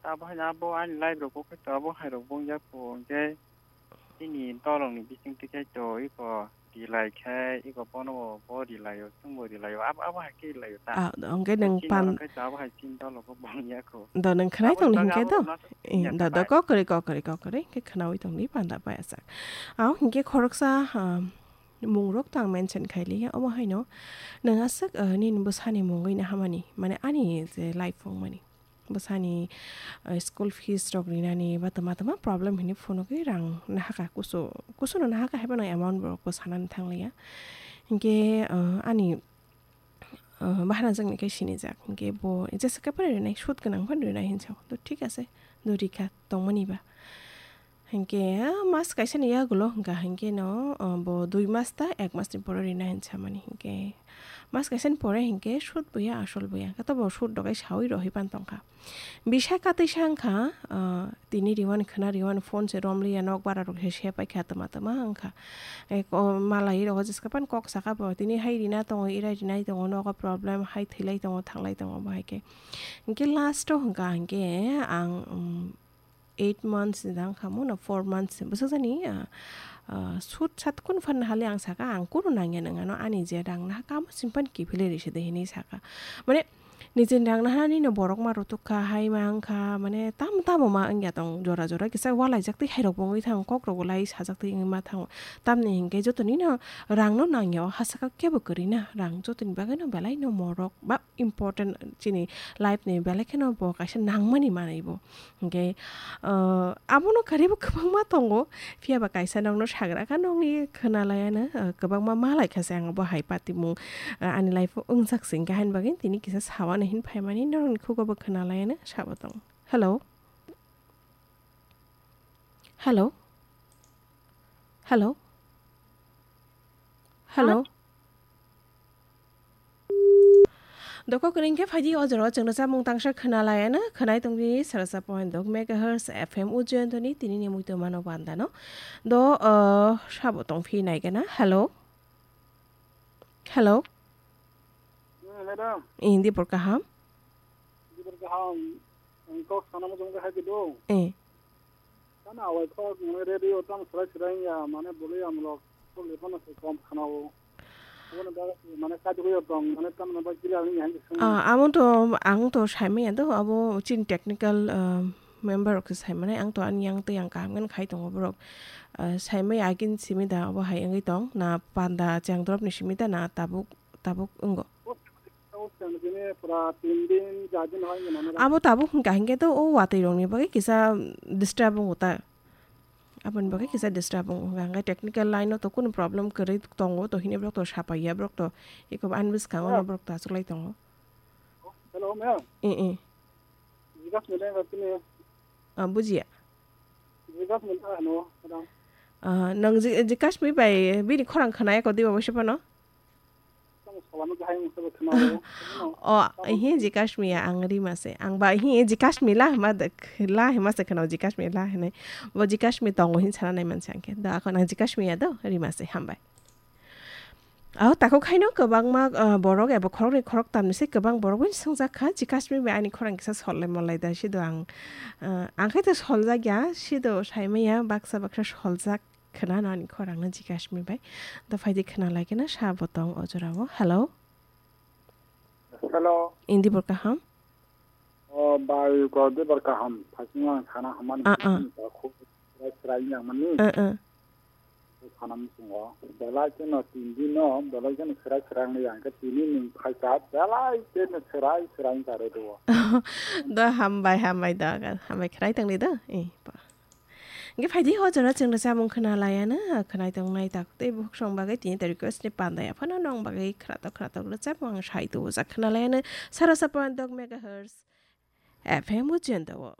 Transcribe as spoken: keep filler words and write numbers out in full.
Abo hai abo ani life rok bo khe to abo hai rok bo wngya kho, hwnkhe chini dolong ni bising twi khe to iko rilai khe iko bono bo rilai o, chwng bo rilai o, abo, abo hai khe rilai o ta. Ah, hwnkhe nwng chini pan- oro khe to abo hai chini dolong bo wngya kho. Do nwng khwnai tong ni hwnkhe do? Abo bagwi abo rok no Eh, ya do, do, bai. Kokori, kokori, kokori, hwnkhe khwnaui tong di panda bai asak. Ah, hwnkhe khoroksa, ah, mung rok to ang mention khai liya, omo haino nwng aswk, ah, nini bwsani mungwi nahamani, mane ani je life wngmani. Bwsani, ah, school fees rok rinani ba tama tama problem hinwi phunugwi rang nahaka, kusu, kusuno nahaka haiphano amount borok bo sanani thangliya. Hinkhe, ah, ani, ah, bahanajwkni khe sinijak. Hinkhe bo jesa khe phano rinai, sut gwnang phano rinai hinwi sao. To thik ase, do rikha tongmani ba. Hinkhe, ah, mas kaisani yagulo hwnkha hinkhe no, ah, bo dui mas ta ek masni pore rina hinwi samani hinkhe. Mas kaisani pore hinkhe sut buya asol buya. Khe to bo sut dogai saui rohoi pan tongkha. Bisa katwi sa wngkha, ah, tini riwan khwna riwan phone se romliya nok bara rok se sepai kha tama tama wngkha. Eh, ko-, malai rok jeska pan kok saka bo tini hai rina tongo, irai rinai tongo, nogo problem hai thwilai tongo, thanglai tongo bo hai khe. Hinkhe last o hwnkha hinkhe ang, um, eight months ni dang khamu na four months bwsajani, ah, ah, sut sat kun phan hali ang saka ang kunu nangya nang ano ani je rang naha kamo simpan kiphilwi risa de hinwi saka. Mane nijeni rang naha nini borok ma rutuk kha, hai ma wng kha, mane tamo tamo ma wngya tong jora jora kisa walaijak twi hai rok bo wngwi thang kok rok bo lai sajak twi wngwi ma thango. Tamni hinkhe joto nino rang no nangya o ha saka kebo kwrwi na rang jotoni bagwi no belai no morok ba important chini life ni belai kheno bo kaisa nangmani manwi bo. Hinkhe, ah, abono karibo kwbangma tongo, phiya ba kaisa nokno sagra kha nokni khwna laiano, ah, kwbangma ma lai kha se ang bo hai patimung, ah, ani life o wngjak se hinkhe haini bagwi tini kisa sawano hin phaimani norokni khugo bo khwna laiano sabo tongo. Hello? Hello? Hello? Hello? Doko kwrwng khe phaidi o jora o chwngno chamung tangsa khwna laiano khwnai tongdi sarasa point dok megahertz F M Ujjayantoni tinini muitu mano bandano. Do, uh, sabo tong phi naigana. Hello? Hello? Hmm, madam. Indi por kaham? Indi por kaham. Ang kok sana mo jong ka hai do. Eh. Tamo awai kok, mane, radio tamo serai serai ya, mane, bole amlok, bole phano se kom khana o. Aboni bagwi, mane, kajagwi tong, mane, tamni bagwi kila wngya hinwi swngmani. Ah, amo to, ang to saimanya do, abo chini technical, ah, member rok se saimani, ang to ani yang tei ang kaham khe khai tongo borok. Ah, saimaya agin simi da, abo hai wngwi tong, na panda chengdrop ni simi da, na tabuk, tabuk wngo. Abo tabuk hwnkha hinkhe to o watwi rokni bagwi kisa disturb wngo ta. Aboni bagwi kisa disturb wngo hwnkha hinkhe technical line o to kunu problem kwrwi tongo to hini borok to sapaiya borok to eko ani bwskango no borok to achuklai tongo. Hello, ma'am. Eh, eh. Jigas mile ba tini. Ah, bujiya. Jigas mile ano, madam. Ah, nwng ji-, Jikashmi bai bini khorang khwnaya kho diba bosi phano? Tamo salano kahai wngkha bo khwnao. O, hi Jikashmi ya, ang Rima se. Ang ba hi Jikashmi la hima de, la hima se khwnao Jikashmi la hinwi. Bo Jikashmi tongo hin sana nai manse ang khe. Da ako nang Jikashmi ya do, Rima se, hambai. Aho takhuk haino kwbangma, ah, borok eba khoroknwi khoroktamni se kwbang borok bai swngjak kha, Jikashmi bai ani khorang kisa sollai mollai da sido ang, ah, ang khe to soljak ya, sido saimaya baksa baksa soljak. Khwnano ani khorangno Jikashmi bai. Da phaidi khwnalai khe na sabo tong o jorao. Hello? Hello. Indi bor kaham? O bai, gor de bor kaham. Phasing ang sana hamani Ah, ah. Khub srai srai yang mani. Ah, ah. Sana musungo. Belai khe no tin din no, belai khe no srai srai ang yang khe tini ning phaika belai khe no srai srai ang tare do. Da hambai, hambai da, hambai khrai tang ni da. Eh, pa. Hingke phaidi o jora chwng rwchapmung khwna laiano, khwnai tongnai takhuk tei bukhuk song bagwi tini ta request ni pandai aphano nong bagwi khwnatok khwnatok rwchapmung ang sai tubu jak khwna laiano, saro sa point dok megahertz F M o jenda o.